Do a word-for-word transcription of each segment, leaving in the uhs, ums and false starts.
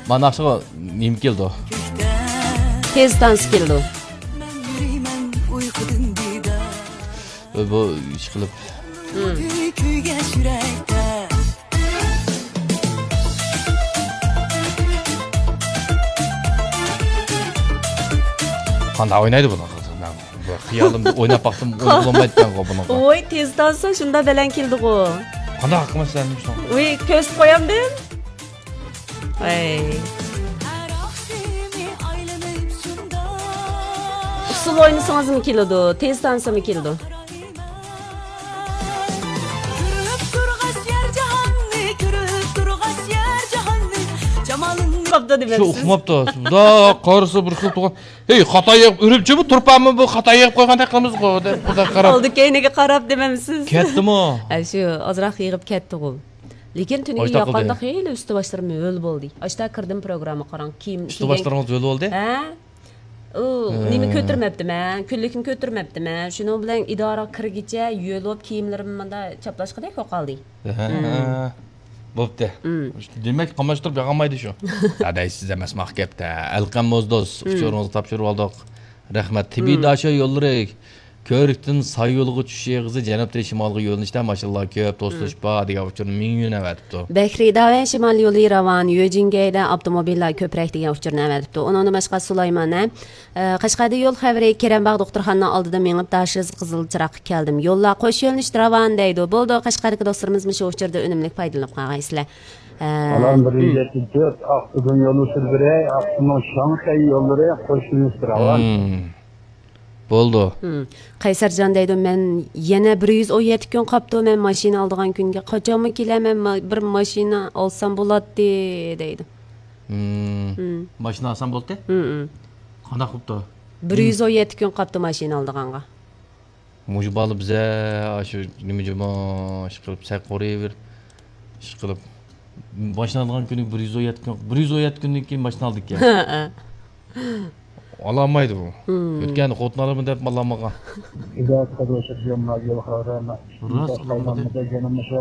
مانا ئاشۇ نېمە كېلىدۇ؟ تېز تانسا كېلىدۇ. بۇ ئىش قىلىپ. قانداق ئوينايدۇ بۇنى؟ بۇ خىيالىمدا ئويناپ باقسام، ئوينىغىلى بولمايدىكەنغۇ بۇنىڭغا. ۋوي، تېز تانسا شۇنداق بەلەن كېلىدىغۇ. قانداق قىلمايسىز ئەمدى شۇنى؟ ۋوي، كۆرسىتىپ قويامدىم. ۋاي. ئۇسسۇل ئوينىسىڭىزمۇ كېلىدۇ، تېز تانسىمۇ كېلىدۇ. كۆرۈپ تۇرغاچ يەر جاھاننى، كۆرۈپ تۇرغاچ يەر جاھاننى، جامالىڭنى. ئۇقماپتۇ شۇ دېمەمسىز؟ ئۇقماپتۇ. بۇنداق قارىسا بىر خىل تۇغان. ھېي، خاتاي يېغىپ، ئۈرۈمچىمۇ تۇرپانمۇ بۇ خاتاي يېغىپ قويغاندەك قىلىمىزغۇ دەپ بۇنداق قاراپ. ئالدى كەينىگە قاراپ دېمەمسىز؟ كەتتىمۇ؟ ھە، شۇ ئازراق يېغىپ كەتتىغۇ. لېكىن تۈنۈگۈن ئاشتاق قىلدى. ياققاندا خېلى ئۈستى باشلىرىم ھۆل بولدى. ئاشتا كىردىم پروگرامما قاراڭ. كىيىم ئۈستى باشلىرىڭىز ھۆل بولدى؟ ھە؟ ئۇ، ھە. نېمە كۆتۈرمەپتىمەن، كۈنلۈكنى كۆتۈرمەپتىمەن. شۇنىڭ بىلەن ئىدارىغا كىرگىچە ھۆل بولۇپ كىيىملىرىم مۇندا چاپلاشقىدەك بولۇپ قالدى. ھە. بوپتۇ. دېمەك، قاملاشتۇرۇپ ياغالمايدۇ شۇ. داداي، سىز ئەمەس ماق گەپتە. ئەلقەم موزدوز، ئۇچۇرىڭىزنى تاپشۇرۇۋالدۇق. رەھمەت. تىبىي داشۆ يوللىرى كۆۋرۈكتىن ساي يولىغا چۈشۈش ئېغىزى جەنۇبتىن شىمالغا يۆنىلىشتە ماشىنىلار كۆپ، توسۇلۇش بار دېگەن ئۇچۇرنى مىڭ يۈەن ئەۋەتىپتۇ. بەھرى داۋەن شىمال يولى راۋان، يۆجىنگەيدە ئاپتوموبىللار كۆپرەك دېگەن ئۇچۇرنى ئەۋەتىپتۇ. ئۇنىڭدىن باشقا سۇلايمان، ھە، ئە، قەشقەردىن يول خەۋىرى، كېرەمباغ دوختۇرخانىنىڭ ئالدىدا مېڭىپ، داشىز قىزىل چىراغقا كەلدىم. يوللار قوش يۆنىلىشتە راۋان دەيدۇ. بولدى، قەشقەردىكى دوستلىرىمىز مۇشۇ ئۇچۇردىن ئۈنۈملۈك پايدىلىنىپ قالغايسىلەر. ئە، بالام، بىر يۈز يەتتە تۆت، ئاقسۇدىن يوللىشىپ بېرەي، ئاقسۇنىڭ شاڭخەي يوللىرى قوش يۆنىلىشتە راۋان. بولدى. قەيسەرجان دەيدۇ، مەن يەنە بىر يۈز ئون يەتتە كۈن قاپتۇ، مەن ماشىنا ئالىدىغان كۈنگە قاچانمۇ كېلەمەن، ما-، بىر ماشىنا ئالسام بولاتتى، دەيدۇ. ماشىنا ئالسام بولاتتى؟ قانداق قىپتۇ؟ بىر يۈز ئون يەتتە كۈن قاپتۇ ماشىنا ئالىدىغانغا. مۇشۇ بالا بىزە ئاشۇ نېمە جۇما ئىش قىلىپ، سەل قورۇيۇۋېرىپ، ئىش قىلىپ، ماشىنا ئالىدىغان كۈنى بىر يۈز ئون يەتتە كۈن، بىر يۈز ئون يەتتە كۈندىن كېيىن ماشىنا ئالىدىكەن. ئالالمايدۇ بۇ. ئۆتكەندە خوتۇن ئالىمەن دەپ ئالالمىغان. ئىدارە قىلىۋاتىدىغان يول خەۋەرلەرنى راست قىلمىدى. يەنە مۇشۇ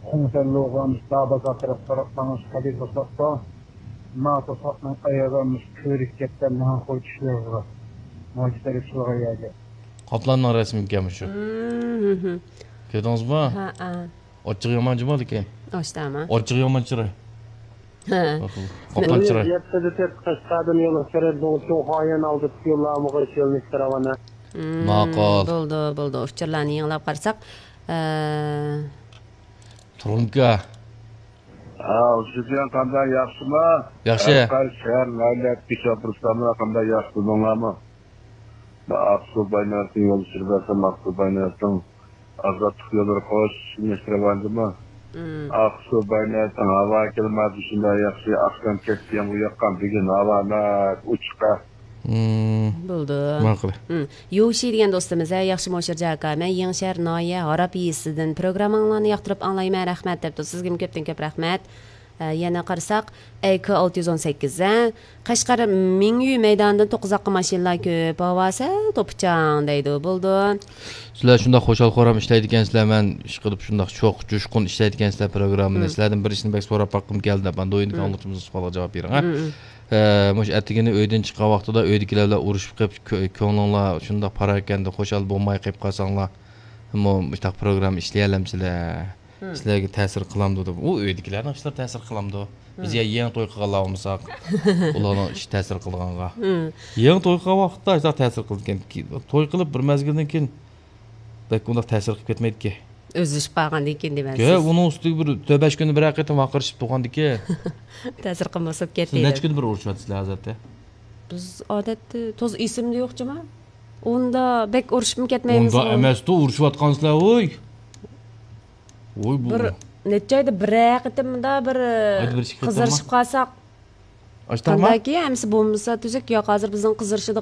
خۇڭسەن لوغان دابازار تەرەپ قاراپ ماڭىش قەدىر توساتتا. ما توساتنىڭ ئاياغى مۇشۇ كۆرۈك كەتكەن ماڭا قوي چۈشلەرگە. ماجى تەرەپ شۇلغا يەرگە. قاپلاننىڭ رەسىمىكەن مۇشۇ. كۆردىڭىزمۇ؟ ھە. ئاچچىقى يامان جۇمۇ لېكىن. ئاشتاما. ئاچچىقى يامان چىراي. ھە. قاپلان چىراي. يەتتىدە تۆت قەشقەردىن يولغا كىرىپ، چوڭ خايەن ئالدىدا يوللارمۇ قوش يۆنىلىشتە راۋان. ماقۇل. بولدى، بولدى. ئۇچۇرلارنى يېڭىلاپ قارىساق. ئە، تۇرۇڭكا. ھاۋ، سۈفيان قانداق، ياخشىما؟ ياخشى. ھەر قايسى شەھەر، ناھىيە، كىشى ئاپىرساملا قانداق، ياخشى بولدۇڭلارمۇ؟ مەن ئاقسۇ باينەستىن يول چۈشۈرۈپ بەرسەم، ئاقسۇ باينەستىن ئازادلىق يوللىرى قوش يۆنىلىشتە راۋان جۇمۇ. ئاقسۇ باينەستىن ھاۋا كىلىماتى شۇنداق ياخشى، ئاخشام كەچتە يامغۇر ياغقان، بۈگۈن ھاۋا ناھايىتى ئوچۇق. بولدى. ماقۇل. يوشى دېگەن دوستىمىز، ھە، ياخشىمۇ شىرجا ئاكا، مەن يېڭىشەھەر ناھىيە ھاراب يېزىسىدىن پروگرامماڭلارنى ياقتۇرۇپ ئاڭلايمەن، رەھمەت دەپتۇ. سىزگىمۇ كۆپتىن كۆپ رەھمەت. ئە، يەنە قارىساق، ئەي كې ئالتە يۈز ئون سەككىز، ھە، قەشقەر مىڭيۈ مەيدانىدىن توققۇزاققا ماشىنىلار كۆپ، ھاۋا سەل توپىچاڭ دەيدۇ. بولدى. سىلەر شۇنداق خۇشال-خۇرام ئىشلەيدىكەنسىلەر، مەن ئىشقىلىپ شۇنداق شوق، جۇشقۇن ئىشلەيدىكەنسىلەر پروگراممىنى. سىلەردىن بىر ئىشنى بەك سوراپ باققۇم كەلدى دەپ، ئاندىن ئويدىكى ئاڭلىغۇچىمىزنىڭ سوئالىغا جاۋاب بېرىڭ، ھە. ئە، مۇشۇ ئەتىگىنى ئۆيدىن چىققان ۋاقتىدا ئۆيدىكىلەر بىلەن ئۇرۇشۇپ قېلىپ، كۆ-، كۆڭلۈڭلار شۇنداق پاراكەندە، خۇشال بولماي قېلىپ قالساڭلار، مۇ-، مۇشۇنداق پروگرامما ئىشلىيەلەمسىلەر؟ سىلەرگە تەسىر قىلامدۇ دەپ. ئۇ ئۆيدىكىلەرنىڭ ئىشلىرى تەسىر قىلامدۇ؟ بىز يا يېڭى توي قىلغانلار بولمىساق، ئۇلارنىڭ ئىشى تەسىر قىلىدىغانغا. يېڭى توي قىلغان ۋاقىتتا ئاشۇنداق تەسىر قىلىدىكەن. توي قىلىپ بىر مەزگىلدىن كېيىن بەك ئۇنداق تەسىر قىلىپ كەتمەيدىكەن. ئۆزلىشىپ قالغاندىن كېيىن دېمەكسىز. يا، ئۇنىڭ ئۈستىگە بىر تۆت بەش كۈندە بىر ھەقىقەتەن ۋارقىرىشىپ تۇرغاندىكى. تەسىر قىلماسا بولۇپ كەتتى. سىز نەچچە كۈندە بىر ئۇرۇشۇۋاتىسىلەر ئادەتتە؟ بىز ئادەتتە توزا ئېسىمدە يوق جۇما. ئۇندا بەك ئۇرۇشۇپمۇ كەتمەيمىز. ئۇندا ئەمەستۇ، ئۇرۇشۇۋاتقانسىلەر، ۋوي. ۋوي، بۇ بىر نەچچە ئايدا بىر قېتىم مۇندا بىر ئايدا بىر ئىككى قېتىممۇ؟ قىزىرىشىپ قالساق. ئاشتاما؟ قانداكى، ئەمىسە بولمىسا تۈزۈك ياق. ھازىر بىزنىڭ قىزىرىشىدىغان